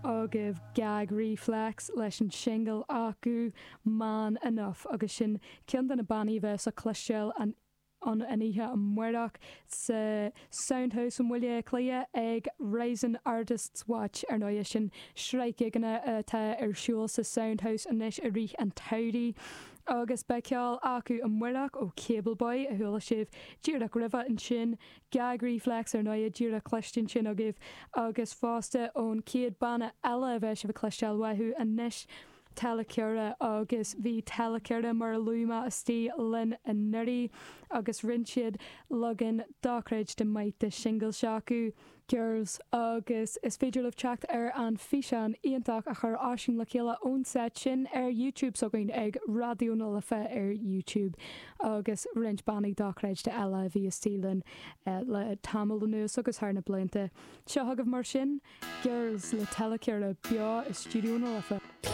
agaibh Gag Reflex leis an singil acu Man Enough agus sin ceann de na bannaí a bheas le cloisteáil an an oíche amárach sa Soundhouse i mBaile Átha Cliath ag Rising Artists Watch. Ar ndóigh, sin sraith gigeanna atá ar siúl sa Soundhouse anois i rith an tsamhraidh. Agus beidh ceol acu amárach ó Cable Boy, a chuala sibh díreach roimhe ansin, Gag Reflex ar ndóigh, díreach cloiste ansin agaibh, agus fosta ón chéad banna eile a bheidh sibh ag cloisteáil uathu anois, Telecura agus bhí Telecura mar a luaigh mé istigh linn anuraidh agus rinne siad leagan dochreidte maith de shingil s'acu, Girls, agus is féidir libh teacht ar an físeán iontach a chuir Oisín le chéile ón seit sin ar YouTube s'againn ag Raidió na Life ar YouTube agus roinnt bannaí dochreidte eile a bhí istigh linn le tamall anuas agus thar na blianta. Seo chugaibh mar sin. Girls le Telecura beo i Stiúideo na Life.